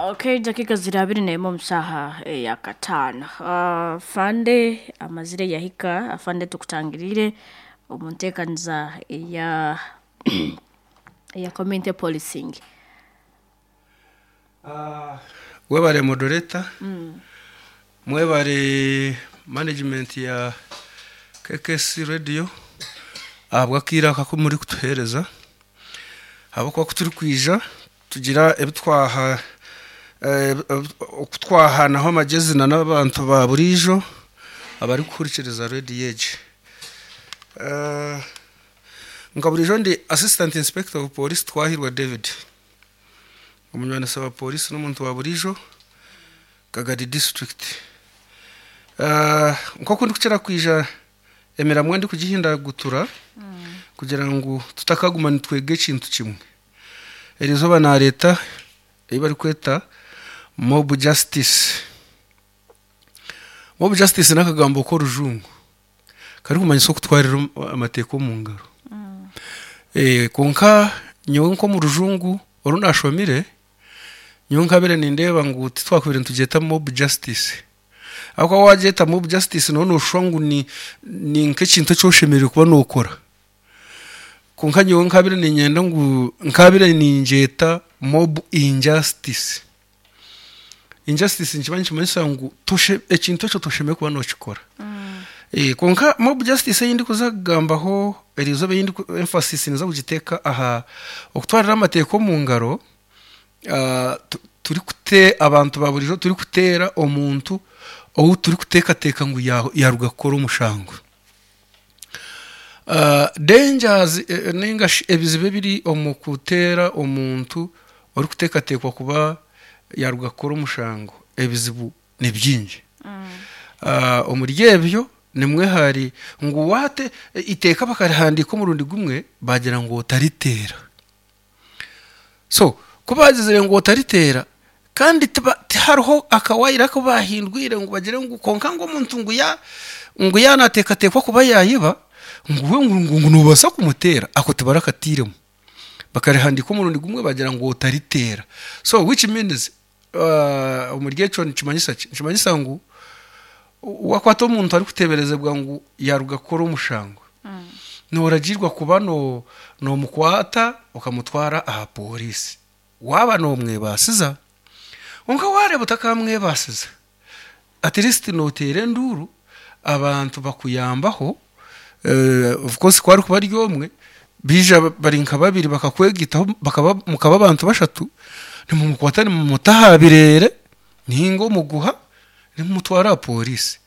Okay, dakika ziri 21 omu saaha eya kataano. Afande amazire yahika, afande tukutangiriire omu nteekaniza eya eya community policing. Webare moderator, mwebare management ya KKC radio ahabw'akaire aka aku murikutuheereza ahabw'okuba ku turikwija tugira ebi twaha oku twahanaho amagyezi na n'abantu ba buriijo abarikuhurikiriza rediyo egi. Nka buriijo ndi assistant inspector of police Twahirwa David, omunywanisa wa polisi n'omuntu wa buriijo Kagadi district. Nk'oku ndikukira kwija emiramwa ndikugihindagutura kugira ngu tutakaguma nitwega ekintu kimwe. Eri izooba naareeta ei barikweta mob justice. Mob justice n'akagambo k'orujungu karikumanyisa okutwarira amateeka omu ngaro. Kwonka nyowe nk'omu rujungu oru naashomire, nyowe nkabaire nindeeba ngu titwakubaire nitugyeta mob justice. Ahabw'okuba waagyeta mob justice nooba nooshusha ngu ni ni nk'ekintu eki oshemereire kuba nookora. Kwonka nyowe nkabaire niinyenda ngu nkabaire ningyeta mob injustice. Injustice nikiba nikimanyisa ngu toshe ekintu ekyo toshemereire kuba nookikora. Kwonka mob justice ei ndikuza kugambaho eriizooba ei ndiku emphasis ninza kugiteeka aha okutwarira amateeka omu ngaro turikute abantu ba buriijo turikuteera omuntu ou turikuteekateeka ngu yaaruga kukora omushango. Dangers ninga shi ebizibu ebiri omu kuteera omuntu orikuteekateekwa kuba yaaruga kukora omushango, ebizibu ni bingi. Omuri ebyo nimwo hari ngu waate eiteeka bakarihandiika omurundi gumwe baagira ngu otariteera. So ku baagizire ngu otariteera kandi tihariho akawayire aku baahindwire ngu bagire ngu kwonka ngu omuntu ngu ya ngu yaaba naateekateekwa kuba yaayiba ngu we ngu noobaasa kumuteera, ako tibarakatairemu. Bakarihandiika omurundi gumwe baagira ngu otariteera. So which means omuri ekyo nikimanyisa ki? Nikimanyisa ngu waakwata omuntu arikuteeberezebwa ngu yaaruga kukora omushango, nooragiirwa kuba noomukwata okamutwara aha pooriisi waaba noomwebaasiza. Kwonka waareeba otakamwebaasiza, at least nooteera enduuru abantu bakuyambaho, of course ku arikuba ari omwe, baija bari nka babiri bakakwegaitaho bakaba mukaba abantu bashatu, nimumukwata nimumuta aha bireere ninga omuguha nimumutwara aha pooriisi.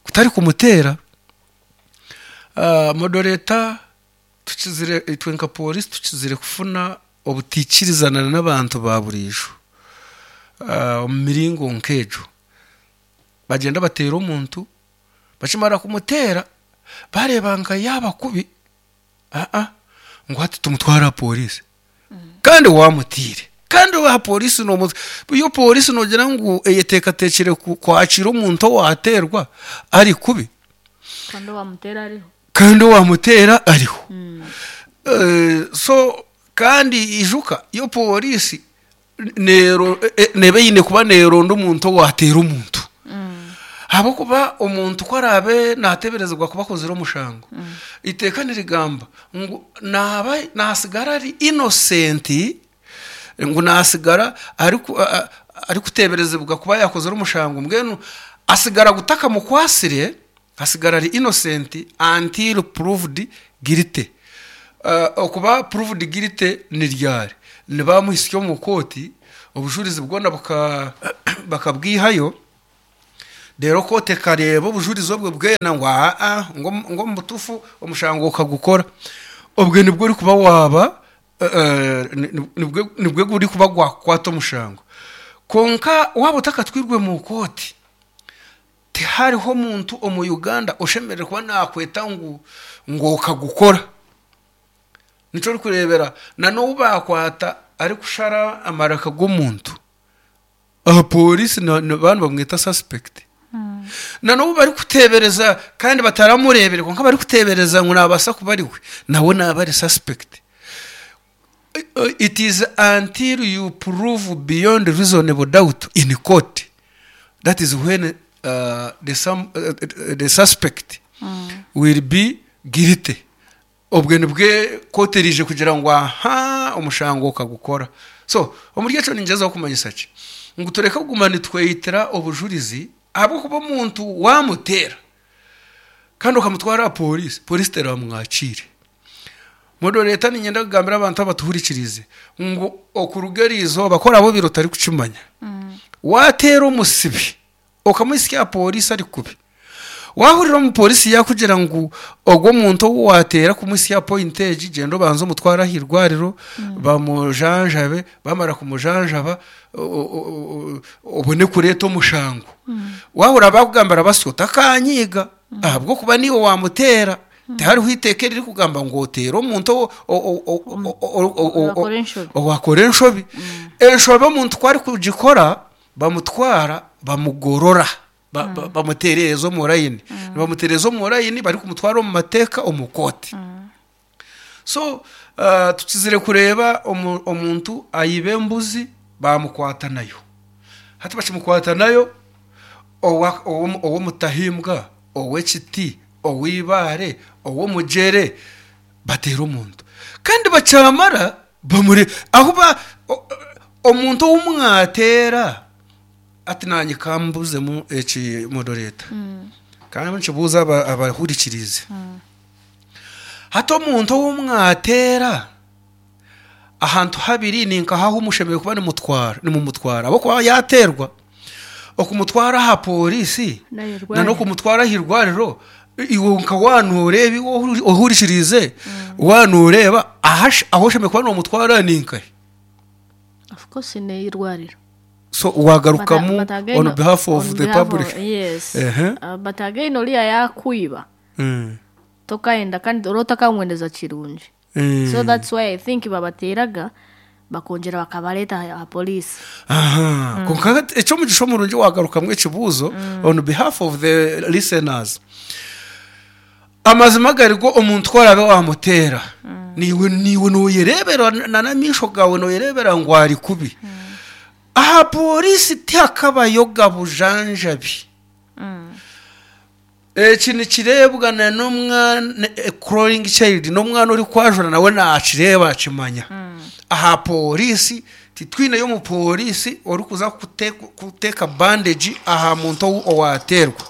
Kutari kumuteera, moderator tukizire itwe nka pooriisi tukizire kufuna obutaikirizana n'abantu ba buriijo omu miringo nk'egyo. Bagyenda bateera omuntu, bakimara kumuteera bareeba nka yaaba kubi, aa ngu hati tumutware aha pooriisi kandi waamutiire. Kandi aha pooriisi yo pooriisi noogira ngu eyeteekateekire kwakiira omuntu owaateerwa ari kubi? Kandi owaamuteera ariho. Kandi owaamuteera ariho. So kandi ijuka yo pooriisi neeba eine kuba neeronda omuntu owaateera omuntu. Ahabw'okuba omuntu ku araabe naateeberezibwa kuba akozire omushango, eiteeka nirigamba ngu naaba naasigara ari innocent, ngu naasigara arikuteeberezibwa kuba yaakozire omushango, mbwenu asigara gutakamukwasire, asigara ari innocent until proved guilty. Okuba proved guilty ni ryari? Ni baamuhitsya omu kooti, obujurizi bwona bakabwihayo, reero kooti ekareeba obujurizi obwo bwena ngu aa ngu omu butuufu omushango okagukora. Obwo nibwo orikuba waaba nibwo gurikuba gwakukwata omushango. Kwonka waaba otakatwirwe mu kooti, Tihariho omuntu omu Uganda oshemereire kuba nakweta ngu ngu okagukora. Nikyo orikureebera na n'ou baakwata arikushara amaraka g'omuntu, aha pooriisi nibaba nibamweta suspect. Na n'ou barikuteebereza kandi bataramureebire kwonka barikuteebereza ngu naabaasa kuba ari we, nawe naaba ari suspect. It is until you prove beyond reasonable doubt in court that is when the suspect will be guilty. Obwe nibwe kooti eriije kugira ngu aha omushango okagukora. So omuri ekyo ningyezaho kumanyisa ki? Ngu tureke kuguma nitweyitira obujurizi ahabw'okuba omuntu waamuteera kandi okamutwara aha pooriisi, pooriisi teramwakiire. Moderator niinyenda kugambira abantu abatuhurikiriize ngu okuruga eriizooba ku oraabe obaire otarikukimanya, waateera omusibe okamuhitsya aha pooriisi ari kubi, waahurira omupooriisi yaakugira ngu ogwo omuntu ou waateera kumuhitsya aha pointi egi gyenda obanze omutware aha irwariro bamujanjabe, baamara kumujanjaba obone kureeta omushango. Waahurira baakugambira basyo otakaanyiiga ahabw'okuba niiwe waamuteera. Tihariho iteeka eririkugamba ngu oteere omuntu owakora enshobi. Enshobi omuntu ku arikugikora bamutwara bamugorora, bamutereeza omu rayini. Nibamutereeza omu rayini barikumutwara omu mateeka omu kooti. So tukizire kureeba omuntu ayiba embuzi bamukwata nayo. Hati bakimukwata nayo ow'omutahimbwa, ow'ekiti, ow'eibaare, ow'omugyere, bateera omuntu. Kandi bakyamara bamure ahu ba omuntu ou mwateera hati naanye ka mbuzemu eki moderator ka nkibuuze abahurikiriize. Hati omuntu ou mwateera ahantu habiri ninkaha ahu mushemereire kuba nimutwara nimumutwara ahabw'okuba yaateerwa okumutwara aha pooriisi N'aha n'okumutwara aha irwariro iwe nka waaba nooreeba iwe ohurikiriize waaba nooreeba ahu oshemereire kuba noomutwara ni nkahi? Of course n'eirwariro. So waagarukamu But again, on behalf of on the behalf public. of- yes. Ehe. But again oriya yaakwiba tokayenda kandi oraba otakamwendeza kirungi. So that's why I think babateeraga bakongyera bakabareeta aha police. Aha, kwonka eky'omugisha omurungi wagarukamu ekibuuzo on behalf of the listeners. Amazima gari go omuntu ku oraabe waamuteera, naiwe naiwe nooyereebera na n'amaisho gaawe nooyereebera ngu ari kubi. Aha pooriisi tihakabayoga bujanjabi. Eki nikireebwa na n'omwana a crawling child n'omwana orikwajura nawe nakireeba akimanya. Aha pooriisi titwineyo omupooriisi orikuza kuteeka bandage aha muntu owaateerwa.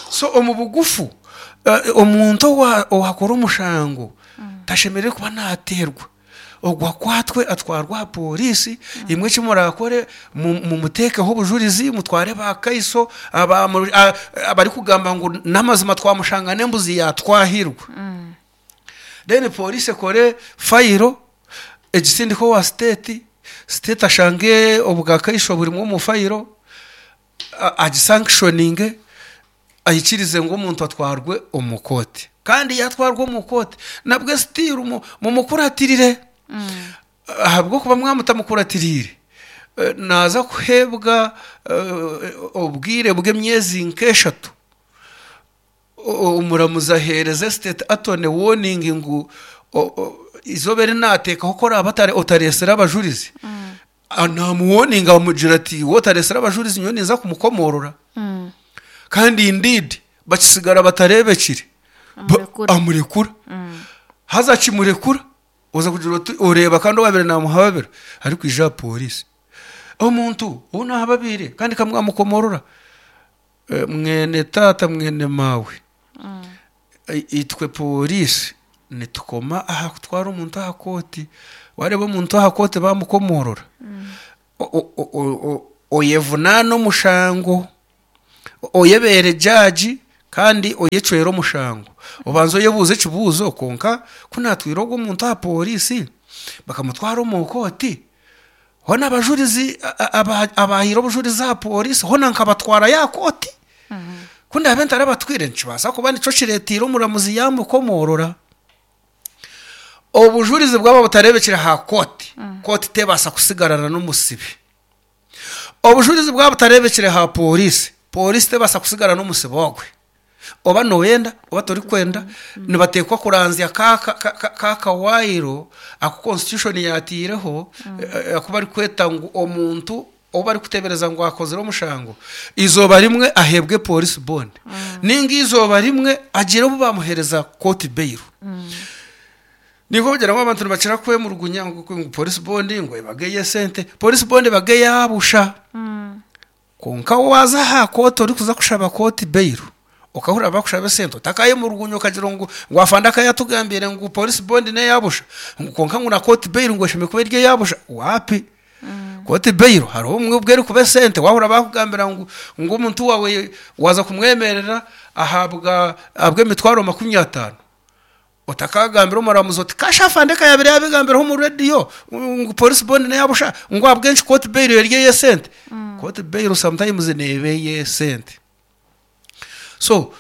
So omu bugufu omuntu owaakora omushango tashemereire kuba naateerwa. Ogwo akwatwe atwarwe aha pooriisi, imwe eki muraakore mumuteekeho obujurizi, mutware baakaiso abarikugamba ngu n'amazima twamushanga n'embuzi yaatwahirwa. Then pooriisi ekore fayiro egisindike owa siteeti, siteeti ashange obwakaiso burimu omu fayiro agisankishoninge aikirize ngu omuntu atwarwe omu kooti. Kandi yaatwarwa omu kooti nabwe sitiiru mumukuratirire ahabw'okuba mwaba mutamukuratiriire naaza kuheebwa obwire bw'emyezi nk'eshatu Omuramuzi aheereza estate attorney warning ngu eizooba eri naateekaho ku oraabe otareetsire abajurizi, naamuwoninga amugira ati waaba otareetsire abajurizi nyowe ninza kumukomoorora. Kandi indeed bakitsigara batareebekire, amurekura. Haza akimurekura, oza kugira oti oreeba kandi owaabaire naamuhababira arikwija aha pooriisi. Omuntu ou naahababiire kandi ka mwamukomoorora. Mwene taata mwene maawe, itwe pooriisi nitukoma aha kutwara omuntu aha kooti. Waareeba omuntu aha kooti baamukomoorora, oyevunaane omushango, oyebeere jaagi kandi oyecwere omushango. Obanze oyebuuze ekibuuzo kwonka ku naatwire ogu omuntu aha pooriisi bakamutwara omu kooti, Hoona abajurizi abaahaire obujurizi aha pooriisi hoona nkabatwarayo aha kooti? Ku ndaabe ntarabatwire nikibaasa kuba nikyo kireeteire omuramuzi yaamukomoorora. Obujurizi bwaba butareebekire aha kooti, kooti tebaasa kutsigarana n'omusibe. Obujurizi bwaba butareebekire aha pooriisi, pooriisi tebaasa kutsigara n'omusibe ogwe. Oba nooyenda oba torikwenda, nibateekwa kuranzya ka ka kawaayiro aku constitution yaataireho aku barikweta ngu omuntu ou barikuteebereza ngu akozire omushango, eizooba rimwe aheebwe police bond nainga eizooba rimwe agire obu baamuheereza court bail. Nikwo kugira ngu abantu nibakira kwemurugunya ngu police bond ngu ebaga ey'esente, police bond ebaga eya busha. Kwonka waaza aha kooti orikuza kushaba kooti bail, okahurira bakushaba esente otakayemurugunya okagira ngu ngu afande akaba yatugambiire ngu police bond neya busha ngu kwonka ngu na kooti bail ngu eshemereire kuba eri eya busha, waapi. Kooti bail hariho obumwe obu erikuba esente waahurira bakugambira ngu ngu omuntu waawe waaza kumwemerera ahabwa ahabw'emitwaro 50. Otakagambira omuramuzi oti kasha afande ka yaabaire yaabigambiraho omu rediyo ngu police bond neya busha ngu ahabw'enki court bail eri ey'esente. Court bail sometimes neeba ey'esente. So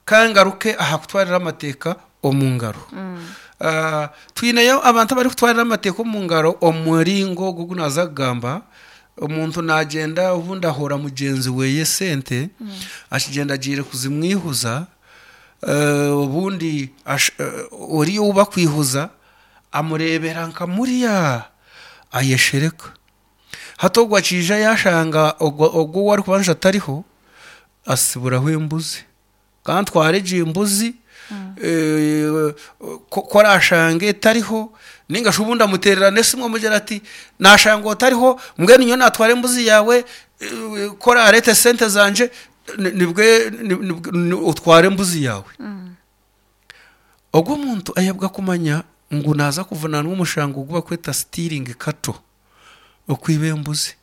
ka ngaruke aha kutwarira amateeka omu ngaro. Twineyo abantu abarikutwarira amateeka omu ngaro omu muringo ogu ogu naaza kugamba, omuntu naagyenda obundi ahoora mugyenzi we esente, akigyenda agiire kuzimwihuza, Obundi oriya ou bakwihuza amureebera nka muriya ayeshereka. Hati ogwo akiija yaashanga ogwo ou arikubanja atariho, atsiburaho embuzi. Ka ntware egi mbuzi ku araashange etariho, nainga shi obundi amuteerera n'esimu amugira ati naashanga otariho mbwenu nyowe naatwara embuzi yaawe ku oraareete esente zangye nibwe otware embuzi yaawe. Ogwo omuntu ayebwa kumanya ngu naaza kuvunaanwa omushango ogu barikweta stealing cattle, okwiba embuzi.